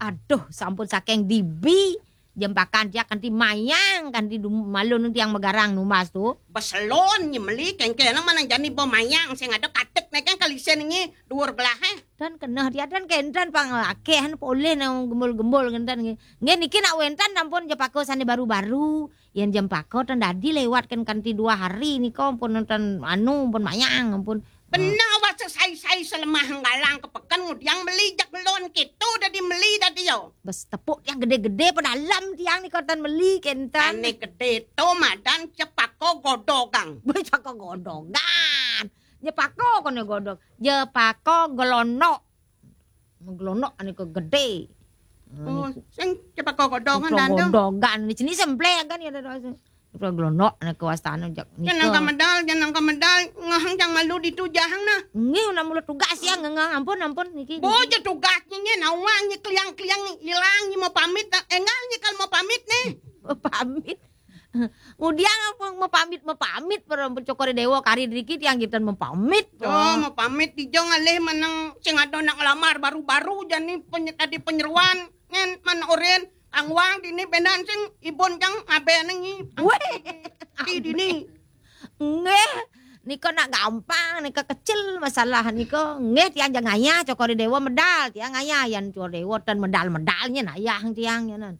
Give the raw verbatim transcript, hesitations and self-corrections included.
Aduh, sampun saking dibi jempakan tiang kanti mayang, kanti dum-, malun tiang magarang numbas tu. Beselon nye meli kengkena manang jani bo mayang sing ada katik ne kan kalisen nye duur gelahe. Dan keneh tiang dan kenten pang akehan polih nang gembul-gembul kenten nggih. Nggih niki nak wenten ampun jepaka sane baru-baru. Yen jempaka ten dadi lewat kan kanti dua hari nika ampun nonton anu ampun mayang ampun. Beneh wasa sai-sai selemah galang ke peken ngudiang meli jak lon keto dadi meli dadi yo. Bes tepuk tiang gede-gede pedalem tiang nika ten meli kenten. Ane gede to madan cepaka godogang. Bes cepaka godogan. Jepaka kone godog. Jepaka gelonok. Gelonok ane ke gede. Oh, sing cepaka godogan dan tu. Godogan ni sini semple kan ya. Cepaka gelonok ane ke wastane jak nika. Jangan kamedal, jangan kamedal, ngahang jang malu ditu jahang nah. Nggih, nak mula tugas ya ngengah. Ampun, ampun niki. Bojo tugas nye nawang nye kliang-kliang ilang nye mau pamit, enggal nye kal mau pamit nih. Pamit. Ngudiang apa mepamit-mepamit para cokor dewa kari driki tiang kiten mepamit. Oh, mepamit dijo ngalih meneng sing ada nak ngelamar baru-baru jani penye-, tadi penyeruan ngen man oren angwang dini benan sing ibun jang abe nengi. Weh. Di dini. Nggih, nika nak gampang, nika kecil masalah nika. Nggih tiang jang ngayah cokor dewa medal, tiang ngayah yan cokor dewa ten medal-medalnya nayah tiang nyanan.